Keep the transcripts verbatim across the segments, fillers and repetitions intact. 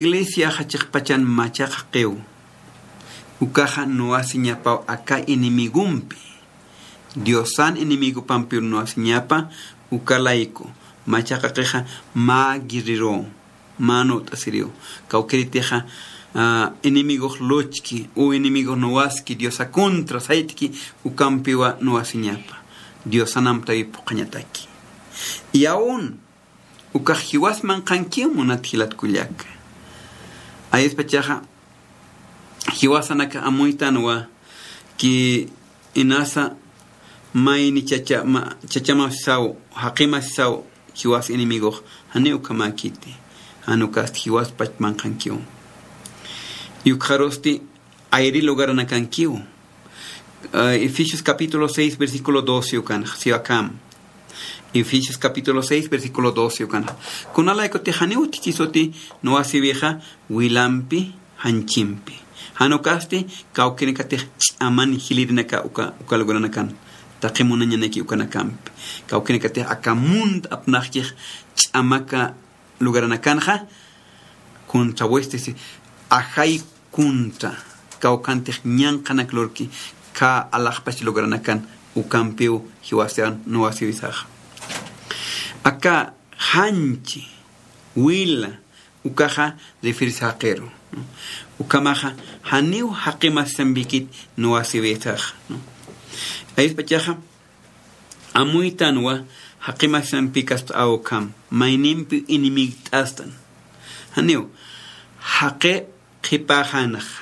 Iglesiaxa chiqpachan machaqa qiw. Ukaxa nuwasiñapaw aka enemigompi. Diosan enemigopampiw nuwasiñapa, uka layku. Machaqa qixa mä guerrero, mä nut'asiriw. Kawkiritixa, ah, enemigox luchki, u enemigox nuwaski Diosa contra sayt'ki, ukampiwa nuwasiñapa. Diosan amtawi phuqhañataki. Y aún, ukax jiwas manqhankiw munat jilat kullaka. Ayaspachaxa, jiwasanakax amuytanwa ki inasa mayni chacha-, ma-, chachamasisaw, jaqimasisaw, jiwas enemigox, janiw ukhamäkiti, jan ukasti jiwaspach manqhankiw. Y ukxarusti, ayri lugaranakankiw. Eh, Efesios capítulo seis, versículo doce ukan, siw akham. Efesios capítulo seis, versículo doce ukan. Kunalaykutix janiw utjkisuti nuwasiwixa wilampi, janchimpi. Jan ukasti, kawkinakatix ch'aman jilirinaka uka, uka lugaranakan. Taqi munañanaki ukanakampi. Kawkinakatix aka munt apnaqkix ch'amaka lugaranakanxa, contra huestes, ajay contra, kawkhantix ñanqhanak lurki, khä alaxpach lugaranakan ukampiw jiwasan nuwasiwisaxa. Aka janchi, wila, ukaxa refieres jaqiru, ¿no? Ukhamaxa, janiw jaqimasisampikit nuwasiwisaxa, ¿no? Ayaspachaxa, amuytanwa jaqimasisampikasta awkham, maynimpiw enemigt'astan. Janiw, jaqi qhipäxanxa,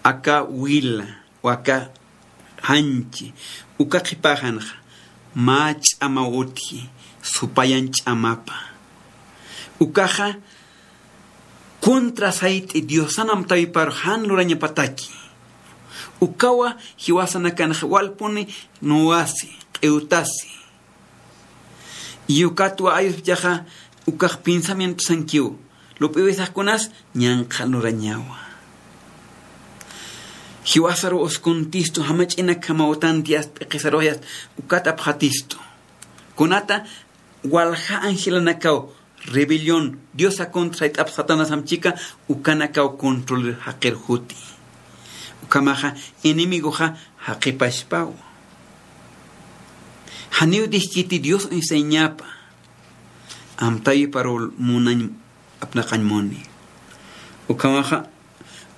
aka wila, u aka janchi, uka qhipäxanxa, mä ch'amaw utji, supayan ch'amapa. Ukaxa, contra sayt'i Diosan amtawiparux jan lurañapataki. Ukawa jiwasanakanxa walpuni nuwasi, q'iwtasi. Y ukatwa ayaspachaxa ukax pensamientosankiw, lup'iwisax kunas ñanqha lurañawa. Jiwasaru uskuntistu, jamach'inakjamaw tantias p'iqisaruyas, ukat apxatistu. Kunata walja angelanakaw rebelión, Diosa contra sayt'ap Satanás amchika, ukanakaw control jaqir juti. Ukhamaxa enemigoxa jaqipaspaw. Janiw dijkiti Dios uñsañapa. Amtawiparu munañ apnaqañ muni. Ukhamaxa,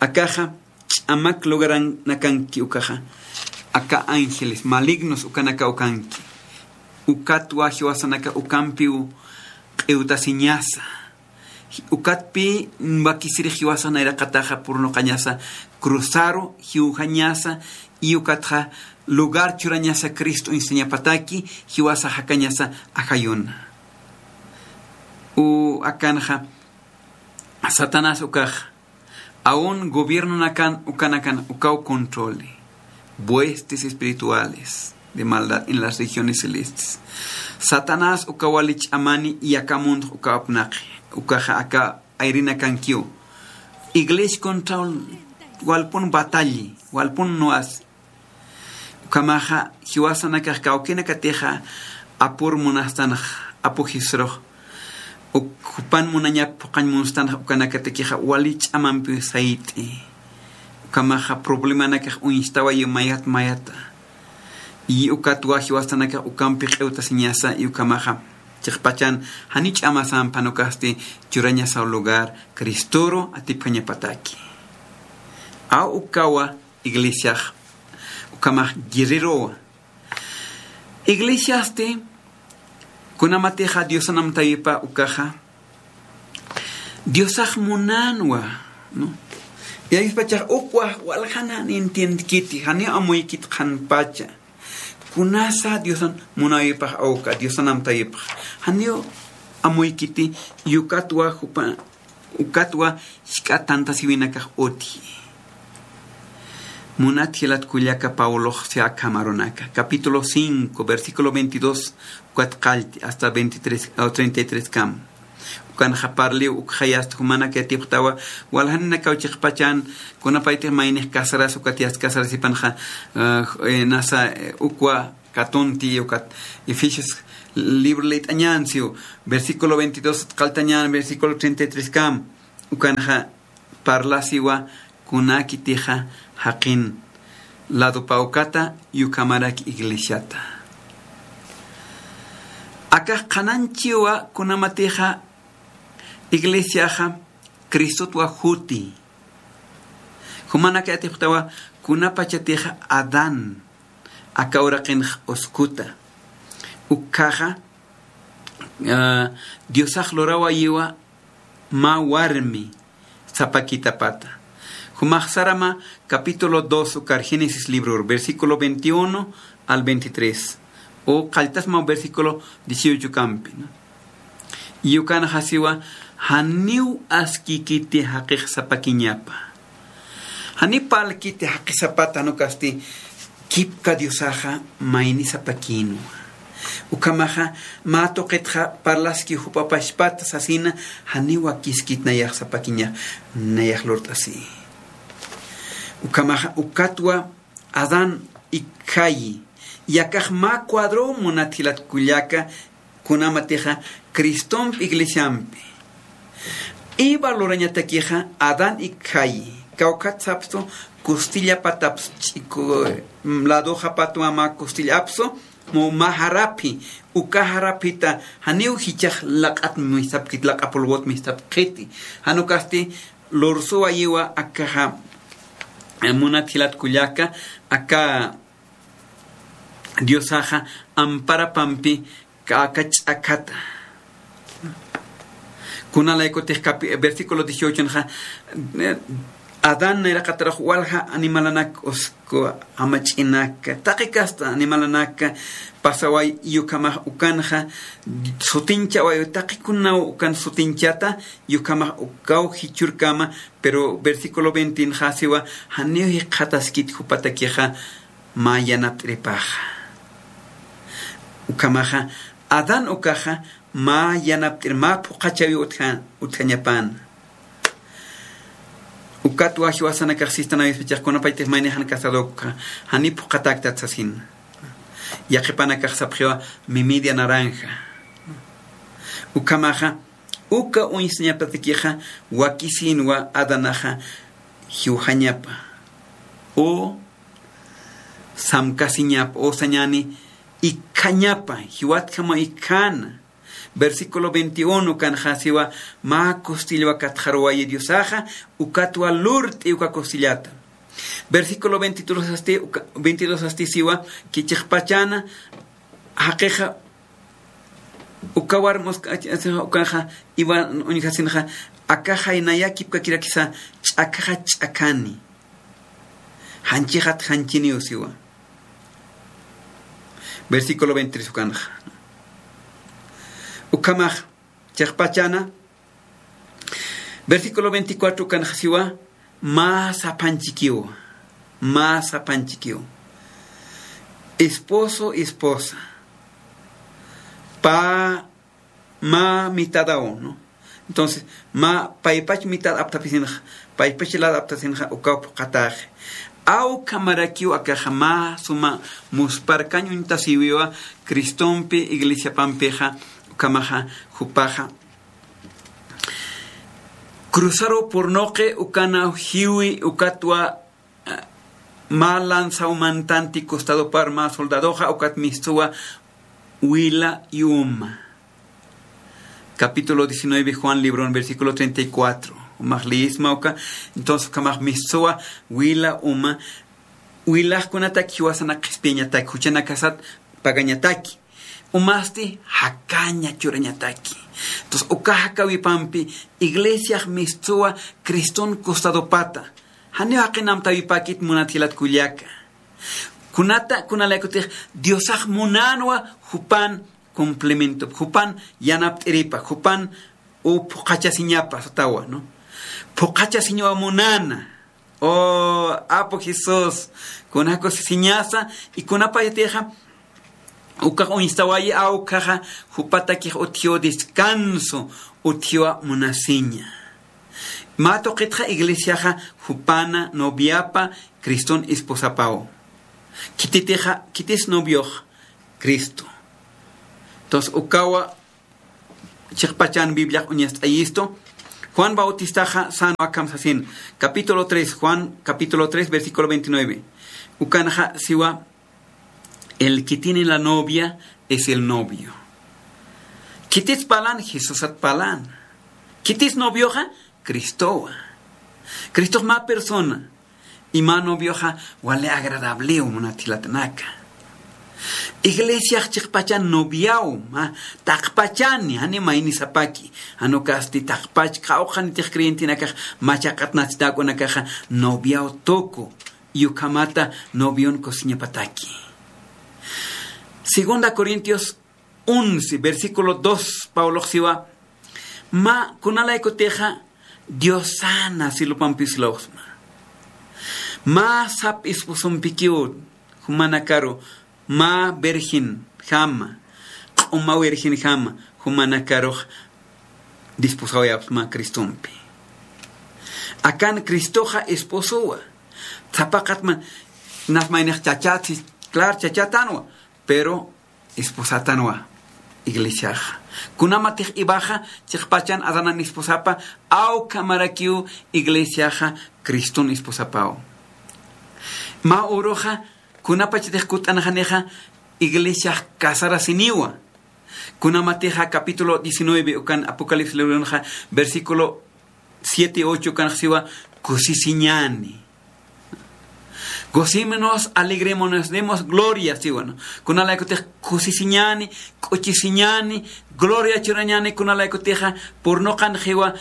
akaxa, ch'amak lugaranakanki ukaxa, aka ángeles malignos ukanaka ukanki. Ukatwa jiwasanaka ukampiw q'iwtasiñasa. Ukatpi wakisirix jiwasa nayraqataxa purnuqañasa, cruzaru jiwjañasa, y ukatxa lugar churañasa Cristo uñsañapataki, jiwasa jakañasa ajayuna. U akanxa, Satanás ukaxa, aun gobiernonakan ukanakan ukaw controli, huestes espirituales de maldad en las regiones celestes. Satanás uka wali ch'amani y aka mundo uka apnaqi, ukaxa aka ayrinakankiw. Iglesia contra walpun batalli, walpun nuwas, Ukhamaxa, jiwasanakax kawkinakatixa apur munastanax, apu Jesurux, uk-, jupan munañap phuqañ munstanxa ukanakatakixa wali ch'amampi sayt'i. Ukhamaxa problemanakax uñstawayi mayat mayata. Y ukatwa jiwasanakax ukampi q'iwtasiñasa, y ukhamaxa chiqpachan jani ch'amasampan ukasti churañasaw lugar Cristoru atipjañapataki. Aw ukawa iglesiax, ukhamax guerrerowa. Iglesiasti, kunamatixa Diosan amtawipa ukaxa, Diosax munänwa, ¿no? Yayispachax ukwa waljanan entiendkiti, janiw amuykit qhanpacha. Kunasa Diosan munawipax awka, Diosan amtawipax. Janiw amuykiti, y ukatwa jupa Ukatwa jisk'a tantasiwinakax utji. Munat jilat kullaka Pablox si akham arunaka, capítulo cinco, versículo veintidós, ukat qallti hasta veintitrés o treinta y tres kam. Ukanxa parliw ukxayasta jumanak yatipxtawa, waljaninakaw chiqpachan, kunapaytix maynix casaras ukat yast casarasipanxa, ah, eh, nasa, eh, ukwa katunti ukat Efesios libro leyt'añan siw, versículo veintidós qalltañan, versículo treinta y tres kam. Ukanxa parlasiwa kunakitixa jaqin ladopawkata y ukhamarak iglesiata. Akax qhanañchiwa kunamatixa iglesiaxa Cristotwa juti. Jumanakayatix jutawa kunapachatix Adán aka uraqinx uskuta. Ukkhaxa, ah, Diosax lurawayiwa mä warmi sapakitapata. Jumax sarama capítulo dos ukar Génesis libror, versículo veintiuno al veintitrés. O qalltasma versículo dieciocho kampi, ¿no? Y ukanxa siwa, janiw askikiti jaqix sapakiñapa. Janiw parlkiti jaqix sapata, jan ukasti kipka Diosaxa mayni sapakïnwa. Ukhamaxa mä tuqitxa parlaski jupa pachpat sasina, janiw wakiskit nayax sapakiñax, nayax lurt'asi. Ukhamaxa ukatwa Adán ikkhayi, yakax mä cuadro munat jilat kullaka, kunamatixa Cristompi iglesiampi. Eva lurañatakixa Adán ikkhayi, kawkhat sapstu kustillapatapstu ch'iku, mm, ladoxapatwa mä kustillapsu, mu mä jaraphi, uka jaraphita janiw jichhax laq'at mistapkit, laq'a polvot mistapkiti. Jan ukasti lursuwayiwa akaxa, eh, munat jilat kullaka, aka Diosaxa amparapampi ka-, aka ch'akhata. Kunalaykutix capi-, versículo dieciocho nxa, eh, Adán nayraqatarux walja animalanak usku, jamach'inak, taqi kasta animalanak pasaway, y ukhamax ukanxa sutinchaway, taqi kunaw ukan sutinchata, y ukhamax ukaw jichhürkama, pero versículo veinte nxa siwa, janiw jikxataskit jupatakixa mä yanapt'iripaxa. Ukhamaxa, Adán ukaxa, mä yanapt'ir, mä phuqhachawi utja-, utjañapana. Ukatwa jiwasanakax sistan awispachix kunapaytix maynix jan casadokxa, janiw phuqhatäktat sasina. Yaqhipanakax sapxiwa, mi media naranja. Ukhamaxa, uka uñstañapatakixa, wakisïnwa Adanaxa, jiwjañapa. O samkasiñapa, o sañäni, ikkhañapa, jiwatjama ikkhan. Versículo veintiuno kanxa siwa, mä kustillwa katxaruwayi Diosaxa, ukatwa lurt'i uka kustillata. Versículo veintidós asti, uka, veintidós asti siwa, kichixpachana, jaqixa, uka warm uska, ukanxa, Eva uñjasinxa, akaxay naya kipkakirakisa, ch'akhaxa ch'akhani. Janchixat janchiniw siwa. Versículo veintitrés ukanxa. Ukhamax, chiqpachana. Versículo veinticuatro ukanxa siwa, mä saphanchikiw. Mä saphanchikiw. Esposo, esposa. Pa mä mitadaw, ¿no? Entonces, mä paypach mitad aptapisinxa, paypach lad aptasinxa, ukaw phuqhataxi. Ukhamarakiw akaxa mä suma musparkañ uñtasiwiwa Cristompi iglesiapampixa, ukhamaxa, jupaxa. Cruzaru purnuqi ukanaw jiwi ukatwa mä lanzaw mantanti costadopar mä soldadoxa, ukat mistuwa wila y uma. Capítulo diecinueve, Juan libron, versículo treinta y cuatro. Umax liyisma uka, entonces ukhamax mistuwa wila uma, wilaxkunataki jiwasanak qhispiyañataki, juchanakasat pagañataki. Umasti jakaña churañataki. Entonces, uka jakawipampi iglesiax mistuwa Criston costadopata. Janiw jaqin amtäwipäkit munat jilat kullaka. Kunata, kunalaykutix Diosax munänwa jupan complemento, jupan yanapt'iripa, jupan u phuqhachasiñapa satawa, ¿no? Phuqhachasiñawa munäna. O Apu Jesús, kunakusisiñasa, y kunapayatixa, ukax uñstawayi, ukhaxa, jupatakix utjiw descanso, utjiwa munasiña. Mä tuqitxa iglesiaxa, jupana noviapa, Criston esposapaw. Khititixa, khitis noviox, Cristo. Entonces, ukawa, chiqpachan Bibliax uñast'ayistu, Juan Bautistaxa sänwa akham sasin, capítulo tres, Juan capítulo tres, versículo veintinueve. Ukanxa siwa, el que tiene la novia es el novio. Khitis parlan, Jesusat parlan. Khitis novioxa, Cristowa. Cristox mä persona. Y mä novioxa wali agradablew, munat jilatanaka. Iglesiax chiqpachan noviaw, mä taqpachani, jani mayni sapaki. Jan ukasti taqpach, qawqhanitix creyentenakax machaqat natsita uk'unakaxa noviaw tuku. Y ukhamata novion kusiñapataki. Segunda Corintios once, versículo dos, Pablox siwa, mä kunalaykutixa Diosana silupampi silawsma. Mä sap esposompikiw jumanakaru, mä virgenjama, q'uma virgenjama, jumanakarux desposawayapxsma Cristompi. Akan Cristoxa esposowa. Sapaqatma, nas maynix chachat, sí, claro, chachatanwa, pero esposatanwa iglesiaxa. Kunamatix Evaxa chiqpachan Adanan esposapa, aw ukhamarakiw iglesiaxa Criston esposapaw. Mä uruxa kunapachatix kutt'anxanixa iglesiax casarasiniwa. Kunamatixa capítulo diecinueve ukan Apocalipsis libronxa versículo siete y ocho ukanx siwa, kusisiñäni. Gocémonos, alegrémonos, demos gloria, siwa, ¿no? Kunalaykutix kusisiñäni, k'uchisiñäni, gloria churañäni, kunalaykutixa purnuqanxiwa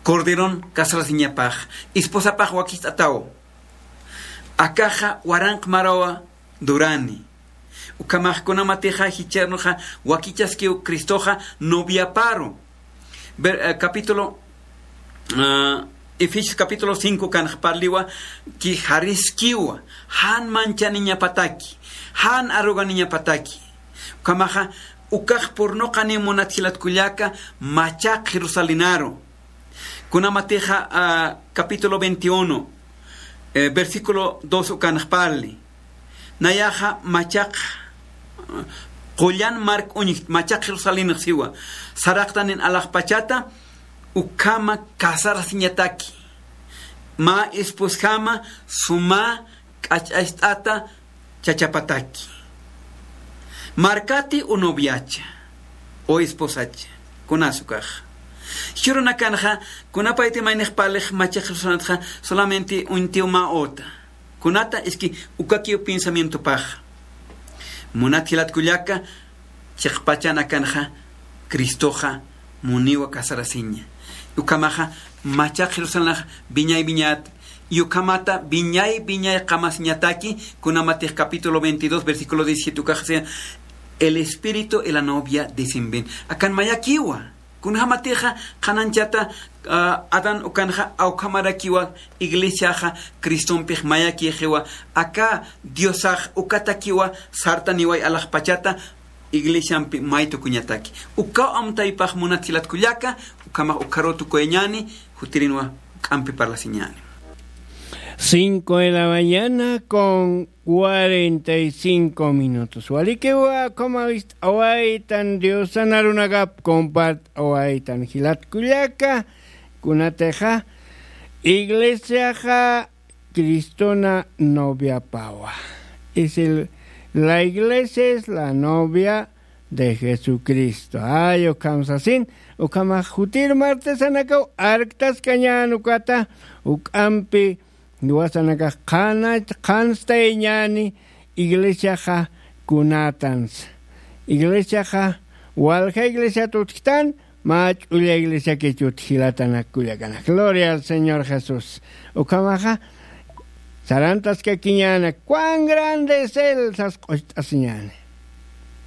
Corderon casarasiñapax, esposapax wakicht'ataw. Akaxa waranq marawa durani. Ukhamax kunamatixa jichhürunxa wakichaskiw Cristoxa noviaparu. Ver-, eh, capítulo, ah, Efesios capítulo cinco ukanx parliwa, ki jariskiwa, jan manchaniñapataki, jan arruganiñapataki. Ukhamaxa, ukax purnuqani munat jilat kullaka, machaq Jerusalenaru. Kunamatixa, ah, capítulo veintiuno, eh, versículo dos ukanx parli. Nayaxa machaq, qullan mark uñj, machaq Jerusalenx siwa. Saraqtanin alaxpachata, ukhama casarasiñataki. Mä esposjama suma k'ach'acht'ata chachapataki. Markati o noviacha, o esposacha, kunas ukax. Jichhürunakanxa, kunapayti maynix parlix machaq Jerusalenxa, solamente uñtiw mä uta. Kunata, es que ukakiw pensamientopax. Munat jilat kullaka, chiqpachan akanxa, Cristoxa muniwa casarasiña. Ukhamaxa, machaq Jerusalenx wiñay wiñat, y ukhamata wiñay wiñay qamasiñataki, kunamatix capítulo veintidós, versículo diecisiete ukax siwa, el espíritu y la novia dicen ven. Akan mayakiwa. Kunjamatixa qhananchata, ah, Adán ukanxa awkhamarakiwa iglesiaxa Cristompix mayakixiwa, aka Diosax ukatakiwa sartaniway alaxpachata iglesiampi may tukuñataki. Ukaw amtaypax munat jilat kullaka, ukhamax ukharuw tukuyañäni, jutirinwa juk'ampi parlasiñäni. Cinco de la mañana con cuarenta y cinco minutos. Walikiwa, ukhama wist'awaytan Diosan arunakap compart'awaytan jilat kullaka, kunatixa iglesiaxa Cristona noviapawa. Es el, la iglesia es la novia de Jesucristo. Ay, ukham sasin, ukhamax jutir martesanakaw arktaskañän ukata, juk'ampi jiwasanakax qhanach, qhanstayañäni iglesiaxa kunatans. Iglesiaxa walja iglesiat utjtan, mä ch'ulla iglesiakich utji jilatanak kullakanak. Gloria al Señor Jesús. Ukhamaxa, sarantaskakiñäni, cuán grande es Él, sas q'ucht'asiñäni.